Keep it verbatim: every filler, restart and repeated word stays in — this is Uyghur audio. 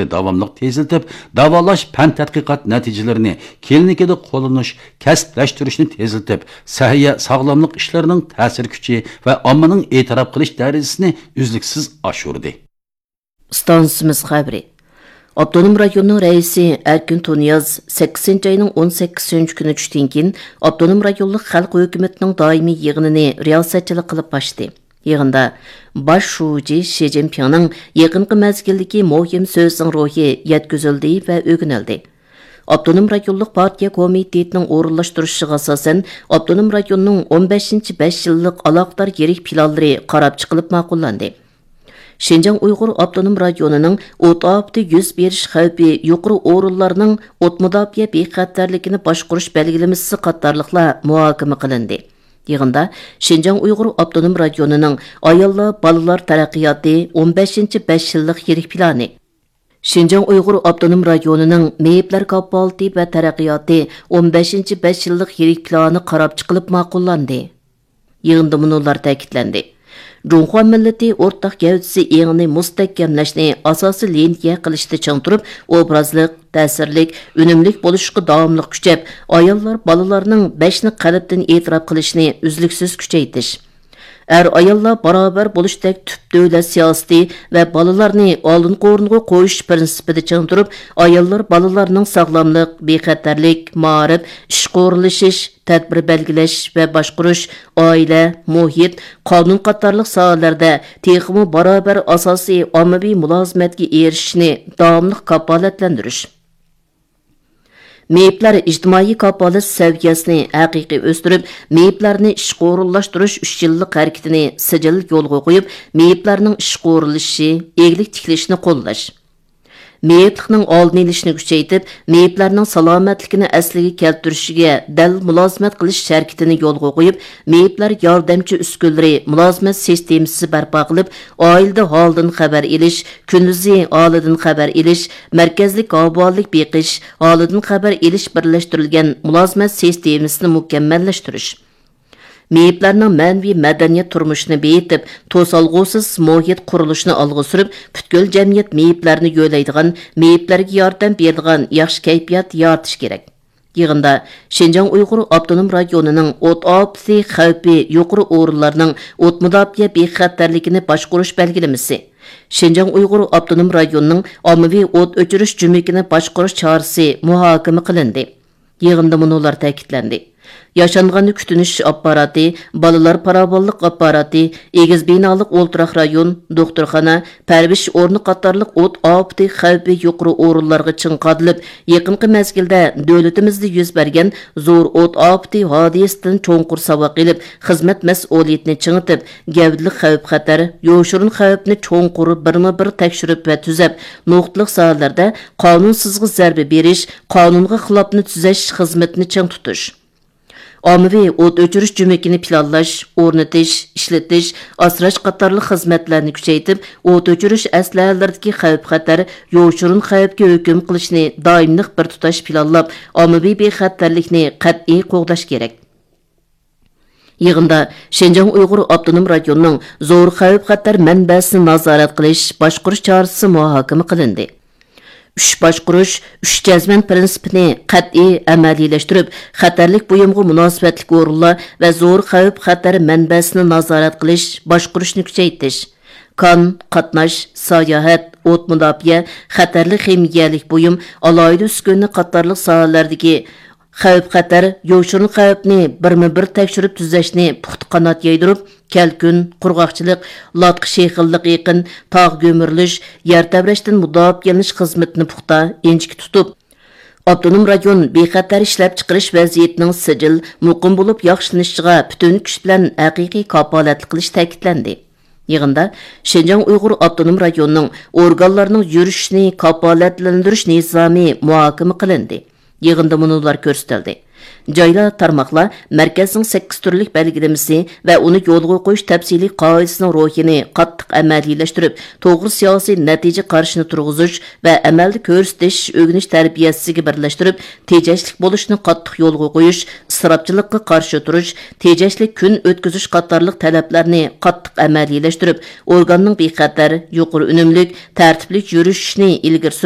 داۋاملىق تېزلىتىپ، داۋالاش پەن تەتقىقات نەتىجىلىرىنى كىلىنىكىدا قوللىنىش، كەسىپلەشتۈرۈشنى تېزلىتىپ، سەھىيە ساغلاملىق ئىشلىرىنىڭ تەسىر كۈچى ۋە ئاممىنىڭ ئېتىراپ قىلىش دەرىجىسىنى ئۈزلۈكسىز ئاشۇردى. ئىستانسىمىز خەۋىرى. ئاپتونوم رايوننىڭ رەئىسى ئەركىن تۇنىياز سەككىزىنچى ئاينىڭ ئون سەككىزىنچى كۈنى چۈشتىن كېيىن ئاپتونوم رايونلۇق خەلق ھۆكۈمىتىنىڭ دائىمىي يىغىنىنى رىياسەتچىلىك قىلىپ ئاچتى. يىغىندا باش شۇجى شى جىنپىڭنىڭ يېقىنقى مەزگىلدىكى مۇھىم سۆزىنىڭ روھى يەتكۈزۈلدى ۋە ئۆگىنىلدى. ئاپتونوم رايونلۇق پارتىيە كومىتېتىنىڭ ئورۇنلاشتۇرۇشىغا ئاساسەن، ئاپتونوم رايوننىڭ ئون بەشىنچى بەش يىللىق ئالاقىدار يىرىك پىلانلىرى قاراپ چىقىلىپ ماقۇللاندى. شىنجاڭ ئۇيغۇر ئاپتونوم رايونىنىڭ ئوت ئاپىتى يۈز بېرىش خەۋپى يۇقىرى ئورۇنلارنىڭ ئوت مۇداپىئە بىخەتەرلىكىنى باشقۇرۇش بەلگىلىمىسى قاتارلىقلار مۇھاكىمە قىلىندى. يىغىندا شىنجاڭ ئۇيغۇر ئاپتونوم رايونىنىڭ ئاياللار، بالىلار تەرەققىياتى ئون بەشىنچى بەش يىللىق يىرىك پىلانى، شىنجاڭ ئۇيغۇر ئاپتونوم رايونىنىڭ مېيىپلەر كاپالىتى ۋە تەرەققىياتى ئون بەشىنچى بەش يىللىق يىرىك پىلانى قاراپ چىقىلىپ ماقۇللاندى. يىغىندا مۇنۇلار تەكىتلەندى: جۇڭخۇا مىللىتى ئورتاق گەۋدىسى ئېڭىنى مۇستەھكەملەشنى ئاساسىي لىنىيە قىلىشتا چىڭ تۇرۇپ، ئوبرازلىق، تەسىرلىك، ئۈنۈملۈك بولۇشقا داۋاملىق كۈچەپ، ئاياللار، بالىلارنىڭ بەشنى قەلبتىن ئېتىراپ قىلىشىنى ئۈزلۈكسىز كۈچەيتىش، ئەر-ئاياللار باراۋەر بولۇشتەك تۈپ دۆلەت سىياسىتى ۋە بالىلارنى ئالدىنقى ئورۇنغا قويۇش پىرىنسىپىدا چىڭ تۇرۇپ، ئاياللار، بالىلارنىڭ ساغلاملىق، بىخەتەرلىك، مائارىپ، ئىشقا ئورۇنلىشىش، تەدبىر بەلگىلەش ۋە باشقۇرۇش، ئائىلە، مۇھىت، قانۇن قاتارلىق ساھەلەردە تېخىمۇ باراۋەر ئاساسىي ئاممىۋى مۇلازىمەتكە ئېرىشىشنى داۋاملىق كاپالەتلەندۈرۈش. مېيىپلەر ئىجتىمائىي كاپالەت سەۋىيەسىنى ھەقىقىي ئۆستۈرۈپ، مېيىپلەرنى ئىشقا ئورۇنلاشتۇرۇش ئۈچ يىللىق ھەرىكىتىنى سىجىل يولغا قويۇپ، مېيىپلەرنىڭ ئىشقا ئورۇنلىشىشى، ئىگىلىك تىكلىشىنى قوللاش. مېيىپلىقنىڭ ئالدىنى ئېلىشنى كۈچەيتىپ، مېيىپلەرنىڭ سالامەتلىكىنى ئەسلىگە كەلتۈرۈشىگە دەل مۇلازىمەت قىلىش ھەرىكىتىنى يولغا قويۇپ، مېيىپلەر ياردەمچى ئۈسكۈنىلىرى مۇلازىمەت سىستېمىسى بەرپا قىلىپ، ئائىلىدە ھالىدىن خەۋەر ئېلىش، كۈندۈزى ھالىدىن خەۋەر ئېلىش، مەركەزلىك ئاۋۇھالىلىك بېقىش، ھالىدىن خەۋەر ئېلىش بىرلەشتۈرۈلگەن مۇلازىمەت سىستېمىسىنى مۇكەممەللەشتۈرۈش. مېيىپلەرنىڭ مەنىۋى مەدەنىيەت تۇرمۇشىنى بېيىتىپ، توسالغۇسىز مۇھىت قۇرۇلۇشىنى ئالغا سۈرۈپ، پۈتكۈل جەمئىيەت مېيىپلەرنى يۆلەيدىغان، مېيىپلەرگە ياردەم بېرىدىغان ياخشى كەيپىيات يارىتىش كېرەك. يىغىندا شىنجاڭ ئۇيغۇر ئاپتونوم رايونىنىڭ ئوت ئاپىتى خەۋپى يۇقىرى ئورۇنلارنىڭ ئوت مۇداپىئە بىخەتەرلىكىنى باشقۇرۇش بەلگىلىمىسى، شىنجاڭ ئۇيغۇر ئاپتونوم رايونىنىڭ ئاممىۋى ئوت ئۆچۈرۈش جۈمىكىنى باشقۇرۇش چارىسى مۇھاكىمە قىلىندى. يىغىندا مۇنۇلار تەكىتلەندى: ياشانغاننى كۈتۈنۈش ئاپپاراتى، بالىلار پاراۋانلىق ئاپپاراتى، ئېگىز بىنالىق ئولتۇراق رايون، دوختۇرخانا، پەرۋىش ئورنى قاتارلىق ئوت ئاپىتى خەۋپى يۇقىرى ئورۇنلارغا چىڭ قادىلىپ، يېقىنقى مەزگىلدە دۆلىتىمىزدە يۈز بەرگەن زور ئوت ئاپىتى ھادىسىسىدىن چوڭقۇر ساۋاق ئېلىپ، خىزمەت مەسئۇلىيىتىنى چىڭىتىپ، گەۋدىلىك خەۋپ-خەتەر، يوشۇرۇن خەۋپنى چوڭقۇر بىرمۇ بىر تەكشۈرۈپ ۋە تۈزەپ، نۇقتىلىق ساھەلەردە قانۇنسىزغا زەربە بېرىش، قانۇنغا خىلاپنى تۈزەش خىزمىتىنى چىڭ تۇتۇش. ئاممىۋى ئوت ئۆچۈرۈش جۈمىكىنى پىلانلاش، ئورنىتىش، ئىشلىتىش، ئاسراش قاتارلىق خىزمەتلەرنى كۈچەيتىپ، ئوت ئۆچۈرۈش ئەسلىھەلىرىدىكى خەۋپ-خەتەر، يوشۇرۇن خەۋپكە ھۆكۈم قىلىشنى دائىملىق بىر تۇتاش پىلانلاپ، ئاممىۋى بىخەتەرلىكنى قەتئىي قوغداش كېرەك. يىغىندا شىنجاڭ ئۇيغۇر ئاپتونوم رايونىنىڭ زور خەۋپ-خەتەر مەنبەسىنى نازارەت قىلىش، باشقۇرۇش چارىسى مۇھاكىمە قىلىندى. ئۈچ باشقۇرۇش، ئۈچ جەزمەن پىرىنسىپىنى قەتئىي ئەمەلىيلەشتۈرۈپ، خەتەرلىك بۇيۇمغا مۇناسىۋەتلىك ئورۇنلار ۋە زور خەۋپ-خەتەر مەنبەسىنى نازارەت قىلىش، باشقۇرۇشنى كۈچەيتىش، كان، قاتناش، ساياھەت، ئوت مۇداپىئە، خەتەرلىك خىمىيەلىك بۇيۇم، ئالاھىدە ئۈسكۈنە قاتارلىق ساھەلەردىكى خەۋپ-خەتەر، يوشۇرۇن خەۋپنى بىرمۇ بىر تەكشۈرۈپ تۈزەشنى پۇختا قانات يايدۇرۇپ، كەلكۈن، قۇرغاقچىلىق، لاتقا شېخىللىقى يېقىن، تاغ گۈمۈرۈلۈش، يەر تەۋرەشتىن مۇداپىئەلىنىش خىزمىتىنى پۇختا، ئىنچىكە تۇتۇپ، ئاپتونوم رايون بىخەتەر ئىشلەپچىقىرىش ۋەزىيىتىنىڭ سىجىل، مۇقىم بولۇپ ياخشىلىنىشىغا پۈتۈن كۈچ بىلەن ھەقىقىي كاپالەتلىك قىلىش تەكىتلەندى. يىغىندا شىنجاڭ ئۇيغۇر ئاپتونوم رايونىنىڭ ئورگانلارنىڭ يۈرۈشۈشىنى كاپالەتلەندۈرۈش نىزامى مۇھاكىمە قىلىندى. يىغىندا مۇنۇلار كۆرسىتىلدى: جايلار، تارماقلار مەركەزنىڭ سەككىز تۈرلۈك بەلگىلىمىسى ۋە ئۇنى يولغا قويۇش تەپسىلىي قائىدىسىنىڭ روھىنى قاتتىق ئەمەلىيلەشتۈرۈپ، توغرا سىياسىي نەتىجە قارىشىنى تۇرغۇزۇش ۋە ئەمەلدە كۆرسىتىش، ئۆگىنىش تەربىيەسىگە بىرلەشتۈرۈپ، تېجەشلىك بولۇشنى قاتتىق يولغا قويۇش، ئىسراپچىلىققا قارشى تۇرۇش، تېجەشلىك كۈن ئۆتكۈزۈش قاتارلىق تەلەپلەرنى قاتتىق ئەمەلىيلەشتۈرۈپ، ئورگاننىڭ بىخەتەر، يۇقىرى ئۈنۈملۈك، تەرتىپلىك يۈرۈشۈشىنى ئىلگىرى سۈرۈپ،